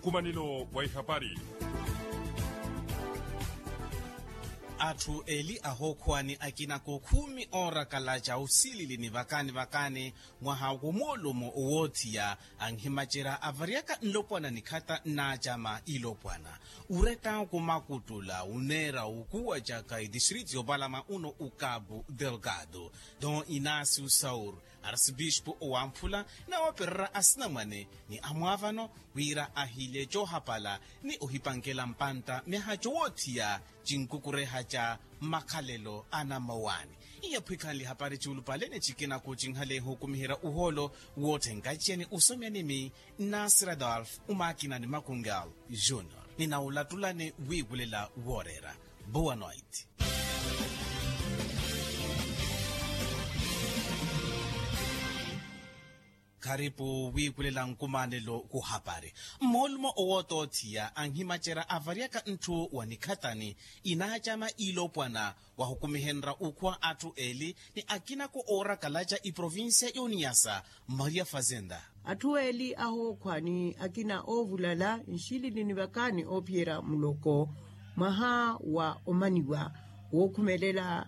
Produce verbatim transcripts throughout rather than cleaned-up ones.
Nkumanelo wa ihapari. Atthu eli ahookhuwani akina kookhumi oorakalaca osilili ni vakaani vakaani mwaha womoolumo owoothiya anhimacerya avaryaka nlopwana nikhata nnaacama ilopwana. Uretta kumakuttula oneera okuwacaka etistritu yoopalama uno ukapu delgado, don inasio saur, arsibispu owamphula, nawoopererya asinamwane ni amwaavano wira ahile coohapala ni ohipankela mpantta myaha cowoothiya cinkukureha ca makhalelo a nammawaani. Iyaphwikhanle hapari cuulupale ni cikina kucinhale ehukumiherya uhoolo woothenka iceni osomya nimi, nasir adolf umaakina ni makungal junior. Ninawulattulani wiiwulela wooreera. Boa noite. Kharipu wiikulela nkumanelo kuhapari. Mmoolumo owootothiya anhimacerya avaryaka ntthu wa nikhatani inaacama ilopwana wahukumihenrya ukhuwa atthu eli ni akinako oorakalaca iprovincia y'oniyasa. Maria fazenda. Atthu eli ahookhwa ni akina oovulala nxilili ni vakaani oophiyerya muloko mwaha wa omaniwa wookhumelela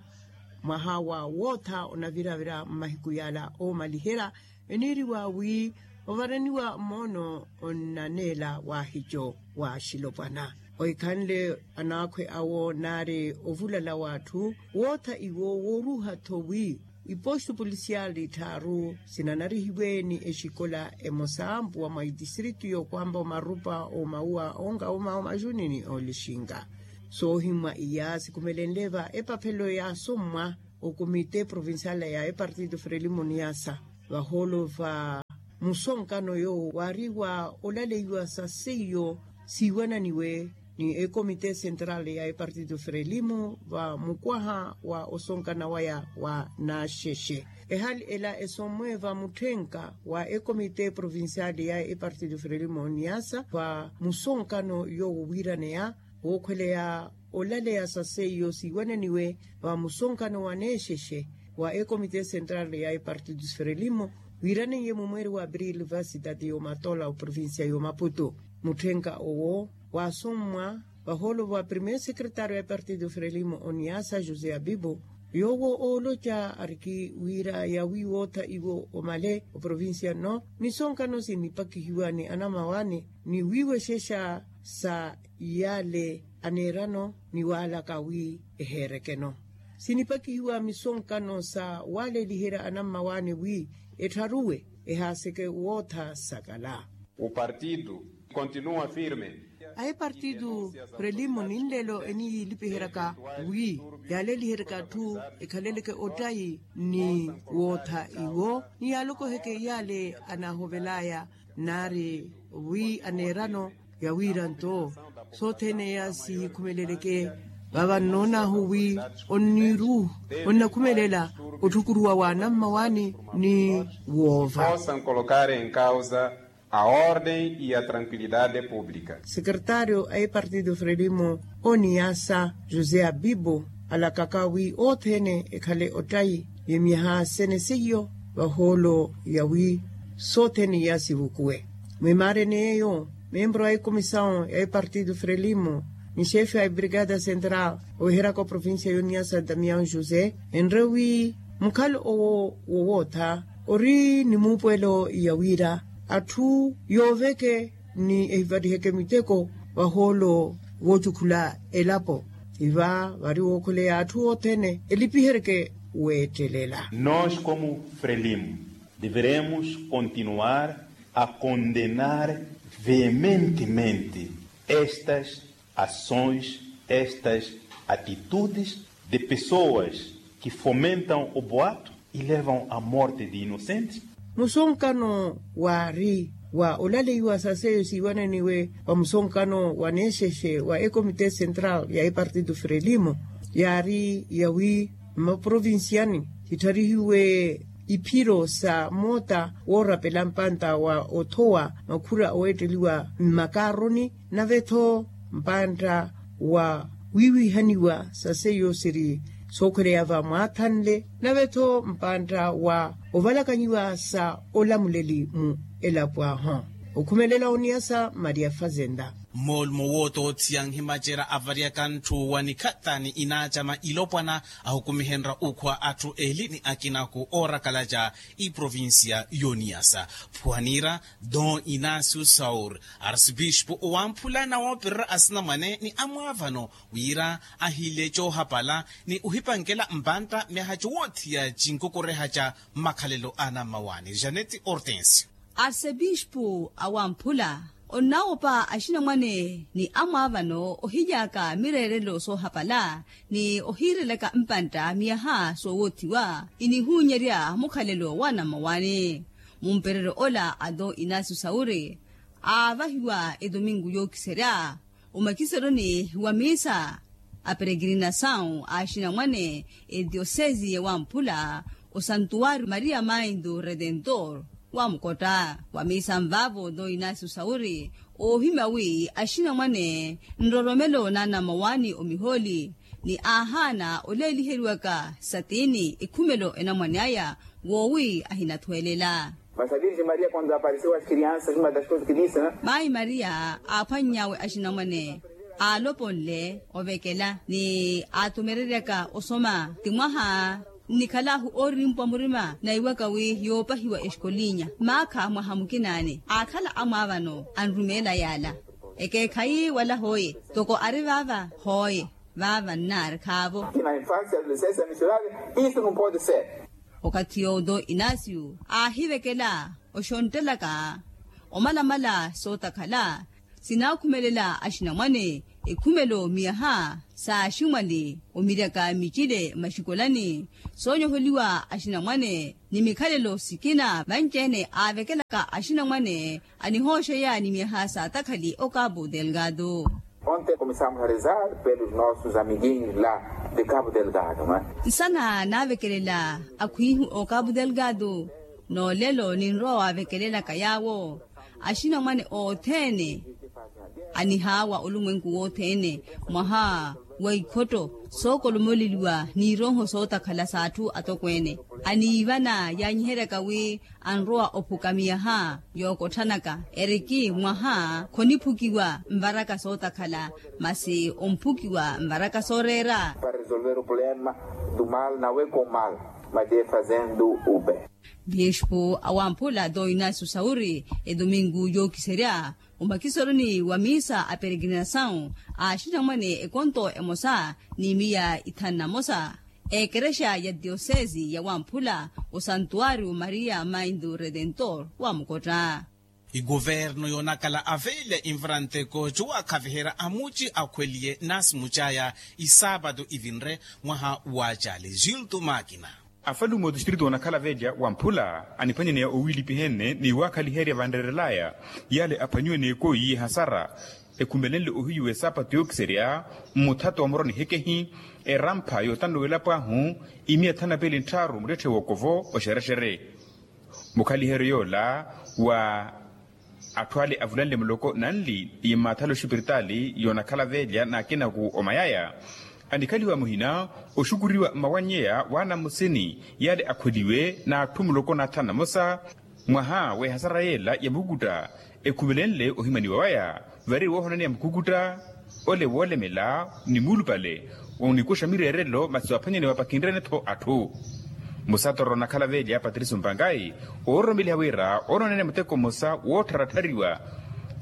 mwaha wa wootha onaviravira mmahiku yala oomaliherya eniiriwa wi ovaraniwa moono onnaneela waahico wa axilopwana. Ohikhanle anaakhwe awo naari ovulala w'atthu wootha iwo wooruha-tho wi ipostu polisiyali tthaaru sinanarihiwe ni exikola emosa mpuwa mwa itistiritu yookwampa omarupa omauwa onka omawa omajuni ni olixinka. Soohimwa iya sikhumelenle va epaphelo yaasommwa okomite provincial ya epartito frelimo niyasa vahoolo va musonkano yoowo waari wa olaleiwa sa seiyo siiwananiwe ni ekomite central ya epartito frelimo va mukwaha wa osonkana waya wa naxexe. Ehali ela esommwe va mutthenka wa ekomite provincial ya epartito frelimo niyasa va musonkano yoowo wiiraneya wookhweleya olaleya sa seiyo siiwananiwe va musonkano wa neexexe wa ekomite central ya epartito frelimo wiiraneiye mumweeri wa aprili va sitati y'omatola oprovincia y'omaputu. Mutthenka owo waasommwa vahoolo va primeiro secretário ya epartito frelimo oniyasa josé abibo yoowo ooloca ariki wira yawi wootha iwo omale oprovincia nno misonkano sinipakihiwa ni anamawaani ni wiiwexexa sa yale aneerano ni waalaka wi eheerekeno sinipakihiwa misonkano sa waaleliherya anammawaani wi ettharuwe ehaaseke wootha sakala. O partido continua firme. A epartido frelimo ninlelo eniyilipiheryaka wi yaaleliheryaka atthu ekhaleleke ottayi ni wootha iwo ni yaalokoheke yale anahovelaya naari wi aneerano yawiira nto sothene ya sihikhumeleleke vava nnoonahu wi onniru onnakhumelela otthukuruwa wa anammawaani ni woova. Possam colocar em causa a ordem e a tranquilidade pública. Secretário a epartito frelimo oniyasa josé abibo alakaka wi othene ekhale ottayi yemyaha sene seiyo vahoolo yawi sothene iya sivukuwe mwimaarene yeeyo membro a ecomisaw ya epartito frelimo ni xefe a ebrigada central oweheryaka oprovincia yoniyasa damian josé enre wi mukhalo owo wowootha ori ni muupuwelo yawiira atthu yooveke ni ehivariheke miteko vahoolo voocukhula elapo iva vari wookhuleya atthu othene elipiheryeke weettelela. Nos como frelimo deveremos continuar a condenar veementemente estas ações, estas atitudes de pessoas que fomentam o boato e levam a morte de inocentes. Musonkano waari wa olaleiwa sa seiyo siiwananiwe wa musonkano wa neexexe wa ekomite central ya epartito frelimo yaari yawi mmaprovinciani sittharihiwe iphiro sa moota woorapela mpantta wa othowa makhura oweetteliwa mmakaaroni nave-tho mpantta wa wiiwihaniwa sa seiyo siri sookhweleya va mwaathanle nave-tho mpantta wa ovalakanyiwa sa olamuleli mu elapo ahu Okhumelela oniyasa maria fazenda. Mmoolumo wootoothiya nhimacerya avaryaka ntthu wa nikhattha ni inaacama ilopwana ahukumihenrya ukhwa atthu eli ni akinaku oorakalaca iprovincia y'oniyasa. Phuwanira don inacio saur, arsipispo owamphula nawoopererya asinamwane ni amwaavano wira ahiile coohapala ni ohipankela mpantta myaha cowoothiya cinkokoreha ca mmakhalelo a anammawaani janet hortensio. Arsepispo awamphula onnawoopa axinamwane ni amwaavano ohilyaka mireerelo soohapala ni ohiirelaka mpantta miyaha soowoothiwa inihuunyerya mukhalelo wa anammawaani. Mumpereryo ola a don inacio sauri aavahiwa etominku yookiserya omakiseroni wa miisa a peregrinasaw a axinamwane etiosesi ya wamphula osantuwari maria maindu redentor wa mukotta wa miisa nvaavo don inacio sauri oohimya wi axinamwane nroromelo na anammawaani omihooli ni aahaana oleeliheriwaka satini ekhumelo enamwane aya woowi ahinathwelela. Mas a virgem maria quando apareceu as crianças uma das coisas que disse né. Mayi maria aaphwanny'awe axinamwane aaloponle ovekela ni aatumereryaka osoma ti mwaha nnikhalaahu oorimpwa murima naiwaka wi yoopahiwa exkolinya maakha mwaha mukinaani aakhala amwaavano anrumeela yaala ekeekhayi wala hooye toko ari vaava hooye vaava nnaari khaavo. Isu nupode ser. Okathi yoowo don inacio aahivekela oxonttelaka omalamala sootakhala sinaakhumelela axinamwane ekhumelo miyaha saaximwali omiryaka micile maxikoolani soonyoholiwa axinamwane ni mikhalelo sikina vanci-ene aavekelaka axinamwane anihooxeya ni miyaha saatakhali okapu delgado. Onte komisamos a rezar pelos nossos amiguinhos la de capo delgado. Nsana naavekelela akhwiihu okapu delgado noolelo ninrowa waavekelelaka yaawo axinamwane othene anihaawa olumwenku wothene mwaha wa ikhotto sookolomoleliwa n'irooho sootakhala s'atthu atokweene aniivana yaanyiheryaka wi anrowa ophuka miyaha yookotthanaka eriki mwaha khoniphukiwa nvaraka sootakhala masi omphukiwa nvaraka sooreera. Para resolver o problema do mal na weko mal mas de fazendo o bem. Biespo awamphula don inacio sauri etominku yookiserya omakiseroni wa miisa a peregrinasaw a axinamwane ekonto emosa ni miya ithanu na mosa ekerexa ya tiosesi ya wamphula osantuwario maria maindu redentor wa mukotta. Ikuvernu yoonakhala avelya invaranteko cowaakhaviherya amuci akhweliye nasimucaya isaapatu ivinre mwaha wa cali gilto makina. Afalume otistrito onakhala velya wamphula aniphwanyaneya owiilipiha-ene ni waakhaliherya vanreerelaya yale aphwanyiwe n'ekooyi y'ehasara ekhumelenle ohiyiwa esaapatu yookiserya mmuthato wa muroni hekehi erampha yootannuwela pwaahu imiya thanu na piili nttharu muttetthe wookovo oxerexere. Mukhaliheryo yoola wa atthu ale avulanle muloko nanli ni mmaathala oxipiritaali yoonakhala velya n'akinaku omayaya anikhaliwa muhina oxukuriwa mmawannyeya w'anamusini yale akhweliwe n'atthu muloko n'athanu na mosa mwaha w'ehasara yeela ya mukukutta ekhumelenle ohimaniwa waya vari woohonaneya mukukutta ole woolemela ni muulupale onikuxa mireerelo masi waaphwanyanewa pakhinrene-tho atthu. Musatoro onakhala velya patricio mpankayi oororomeliha wira oonooneene muteko mmosa woottharattariwa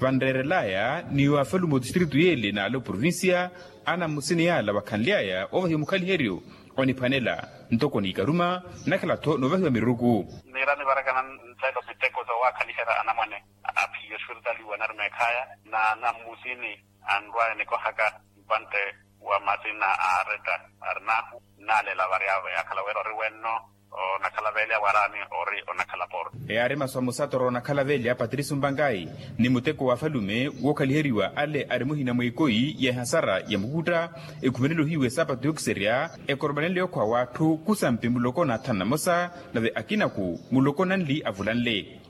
vanreerelaya ni waafalume otistrito yeele n'ale oprovincia anamusini yaala wakhanly'aya oovahiwa mukhaliheryo oniphwanela ntoko n'ikaruma nakhala-tho noovahiwa miruku. Niira nivarakana nttelo miteko soowakhaliherya anamwane aphiya oxipiritaali wa narumeekhaya na anamusini anrwaya nikohaka mpantte wa masina a areta arinahu nnalela varyavo yaakhala wira ori wenno onakhala velya waraani ori onakhala poro. Eyaari masu a musatoro onakhala velya patricio mpankayi ni muteko w'afalume wookhaliheryiwa ale ari muhina mw'ekoyi y'ehasara ya mukutta ekhumelenle ohiyiwa esaapatu yookiserya ekoromelenle okhwa w'atthu khusampi muloko n'athanu na mosa nave akinaku muloko nanli avulanle.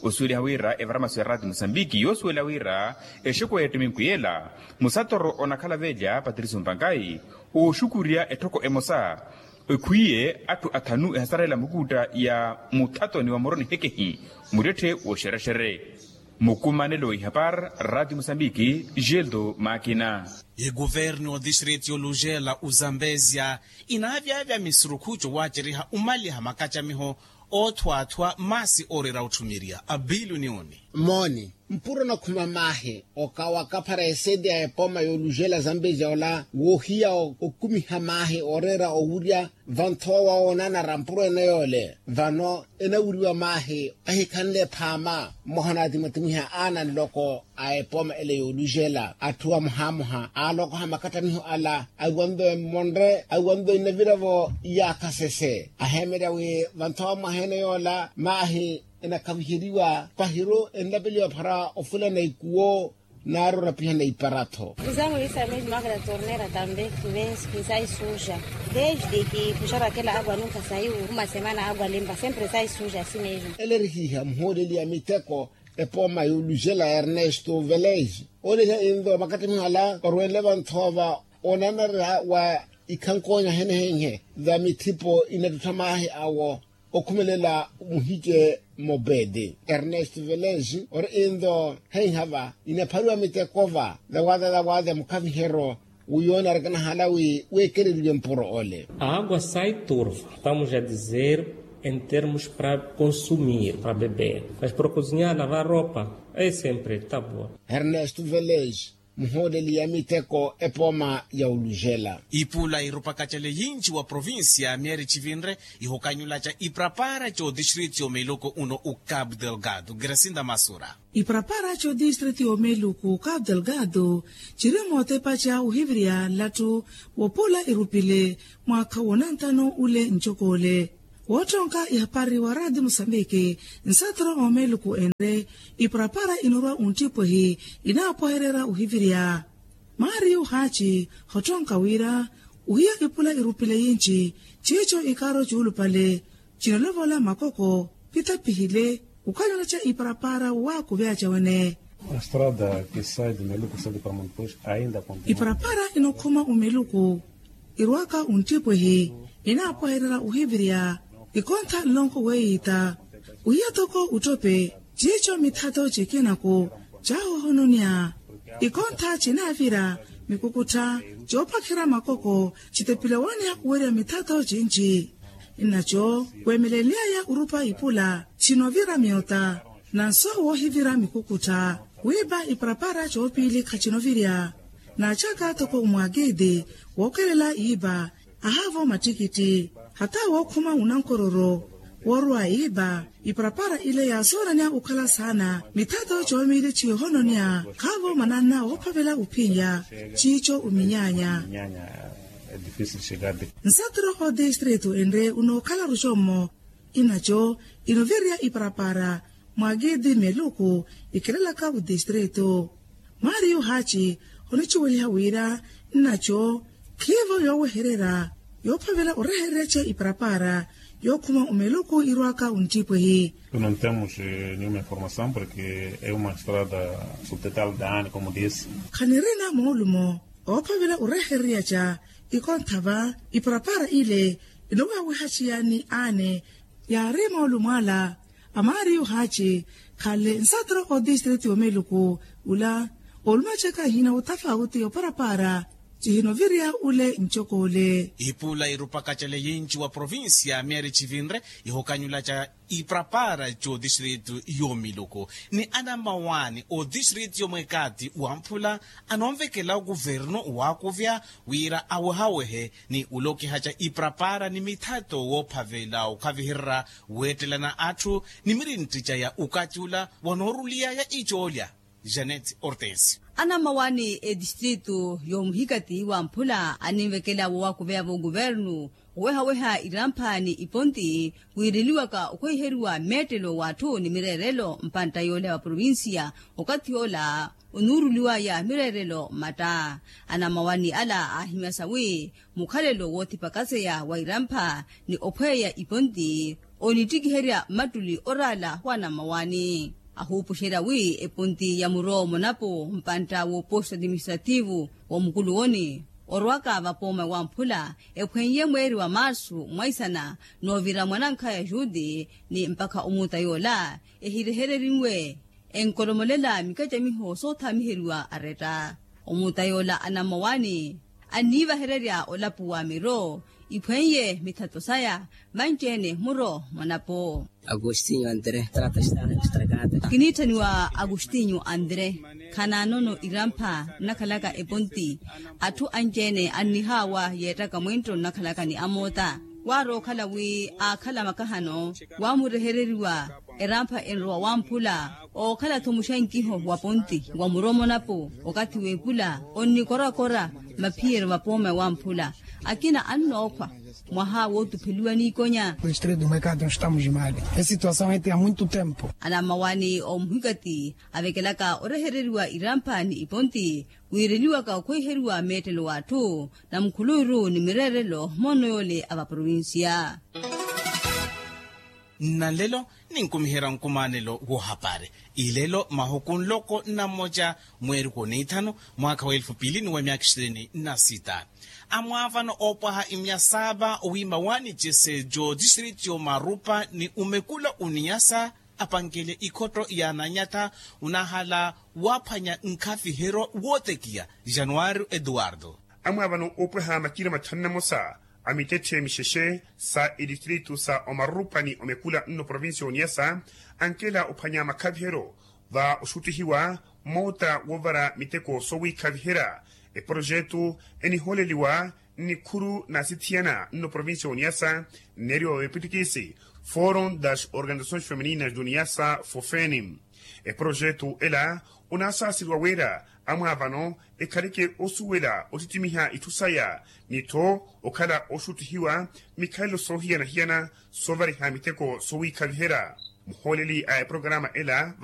Osuweliha wira evara masu ya raati musambiki yoosuwela wira exeku ya ettiminku yeela musatoro onakhala velya patricio mpankayi ooxukurya etthoko emosa ekhwiye atthu athanu ehasarela mukutta ya muthatoni wa muroni hekehi muttetthe w'oxerexere. Mukumanelo ihapar rati musambiki, gildo makina. Iguvernu otistriti yolujela uzambezia inaavyavya misurukhu cowaceriha umaliha makacamiho othwathwa masi orera otthumiriya abilunioni. Mooni mpuro nakhuma maahi okawa kaphara eseti ya epoma yolujela zambezia ola wohiya okumiha maahi orera owurya. Vanthoowa onanara mpuro ene yoole vano enawuriwa maahi ahikhanle phaama mmoha naatimwatimwiha aana nloko a epoma ele yoolujela atthu amohamoha aalokoha makattamiho ala awiwanve mmonre awiwanve inaviravo. Iyaakha sese aheemerya wi vanthoowa mwaha ene yoola maahi enakhaviheriwa pahiru enlapeliwa phara ofulana ikuwo. Naaroora pihana iparatho. Uzangu isa mezi makela tornera tambe. Kivensi kisaisuja desde ki kuxarakela agwa nunka saiu uma semana agwa limba sempre saisuja si mezi. Elerihiha muhooleli ya miteko epoma yolujela ernesto velez. Oleha inlo makattimiho ala orwenle vanthova onanara wa ikhankonya henehenhe va mithipo inattuttha maahi awo. Okhumelela muhice mobedi ernesto velez ori inlo henhava inaphariwa mitekova. Zawaza zawaza mukhavihero wi yoona arikanahala wi weekeleriwe mpuro ole. A agua sai turva estamos a dizer em termos para consumir para beber mas para cozinhar lavar roupa é sempre tabor. Ernesto velez muhooleli ya miteko epoma ya olujela. Ipula irupakacele yinci wa provincia mieri civinre ihokanyulaca iprapara c'odistrito y'omeluko uno u cabo delgado gracinda masura. Iprapara c'odistrito y'omeluko u cabo delgado ciri mootepaca uhiviriya nlattu wopula irupile mwaakha wonanthano ule ncokole. Woottonka ihapari wa radi musambiki nsatro omeluku enre iparapara inorwa unttipwehi inaapwehererya uhiviriya. Mario haaci hottonka wira uhiya ipula irupile yinci ciico ikaaro cuulupale cinalovola makoko pitapihile. Ukanyolaca iparapara waakuvyaca wene. Estrada ke sai de meluku sai de pamontos ainda kontinua. Iparapara inokhuma umeluku irwaka unttipwehi inaapwehererya uhiviriya. Ikontha nlonko weiita uhiya toko uttope ciico mithato cikinaku caahohononya. Ikontha cinaavira mikukuttha coophakherya makoko citepile waneya uwerya mithato cinci. Nnaco weemelelyaya urupa ipula cinovira myota nanso woohivira mikukuttha wiipa iparapara coopiili khacinovirya. Naacaka toko umwakiti wookelela iipa ahaavo mattikitthi hata wookhuma unankororo woorwa iipa. Iparapara ile yaasooranya okhala saana mithato coomiili ciihononya khaavo mananna woophavela uphinya ciico uminyaanya. Nsaturo otistrito enre unookhala ruxommo inaco inovirya iparapara mwaakiti meluku ikhelelaka otistrito. Mario haaci oniciweliha wira nnaco khiivo yoowehererya yoophavela orehererya ce iparapara yookhuma omeluku irwaka onttiipwehi. Nuntemuxe niuma informasamu porke euma estrada subtetal daani komu disi. Khanirina moolumo oophavela orehererya ca ikontha va iparapara ile inowawiha ciyaani aane. Yaari moolumo ala a mario haaci khanle nsatro otistrito y'omeluku ula olumacaka ehina otafauti yoparapara cihinovirya ule ncokole. Ipula irupakacele yinci wa provincia mieri civinre ihokanyulaca iparapara c'otistrito y'omeluku ni anamawani otistrito y'omwekati wa mphula anonvekela okuvernu waakuvya wira awehawehe ni ulokihaca iparapara ni mithato woophavela okhavihererya weettelana atthu ni mirintti caya okathi ula wanooruliyaya icoolya. Janet ortensio. Anamawani etistrito y'omuhikati wa mphula aninvekela woowakuveya v'okuvernu owehaweha irampha ni iponti wiireliwaka okhweiheriwa meettelo w'atthu ni mireerelo mpantta yoole wa provincia okathi ola onuuruliwaya mireerelo mmatta. Anamawani ala aahimyasa wi mukhalelo woothipakaseya wa irampha ni ophweeya iponti onittikiherya mmattuli oraala w'anamawani ahuupuxerya wi eponti ya muro monapo mpantta w'oposto atiministrativu w'omukuluwoni orwaka vapooma wa mphula ephweiye mweeri wa marsu mwaisana noovira mwanankhaya juti ni mpakha omuutta yoola ehirehererinwe. enkolomolela mikacamiho soothamiheriwa aretta. Omuta yoola anammawaani anniivahererya olapu wa miro iphweiye mithato saya manci-ene muro mwanapo. Agostinho andre trata sta strakata. Kiniitthaniwa agostinho andre. Khanaanono irampha nnakhalaka eponti. Atthu anci-ene annihaawa yeettaka mwinttho nnakhalaka ni amoota. Waarookhala wi aakhala makahano waamurehereriwa erampha enrowa wamphula ookhala-tho muxankiho wa ponti wa muromonapo okathi w'epula onnikorakora maphiyeryo vapooma wamphula. Akina annookhwa mwaha wootupheliwa n'ikonya. Estreto mwekati nstamu jimali esituasaw eti ya mwintu tempo. Anammawaani omuhikati avekelaka orehereriwa irampha ni iponti wiireliwaka okhweiheriwa meettelo w'atthu na mukhuluuru ni mireerelo moono yoole a vaprovincia. Nnalelo ninkumiherya nkumanelo woohapari. Ilelo mahuku nloko nnammoca mweeruku oniithanu mwaakha wa elfu piili ni wa myaakha ishirini na sita. Amwaavano oopwaha imyasaava owiima waani cesejo district y'omarupa ni omekula oniyasa apankele ikhotto ya nanyatha onahala waaphwanya nkhaviheryo wootekiya. Januario eduardo. Amwaavano oopweha makina mathanu na mosa a mitetthe mixexe sa edistritu sa omarupa ni omekula nno provincia oniyasa ankela ophwanya makhaviheryo va oxuttihiwa moota woovara miteko sowiikhaviherya. Eprojetu enihooleliwa nnikhuru n'asithiyana nno provincia oniyasa nneeriwa vepittikisi forum das organizações femininas do niyasa fofeni. Eprojetu ela onaasaaseriwa wira amwaavano ekhaleke osuwela ottittimiha itthu saya ni-tho okhala oxuttihiwa mikhalelo soohiyana-hiyana soovariha miteko sowiikhaviherya. Muhooleli a eprokarama ela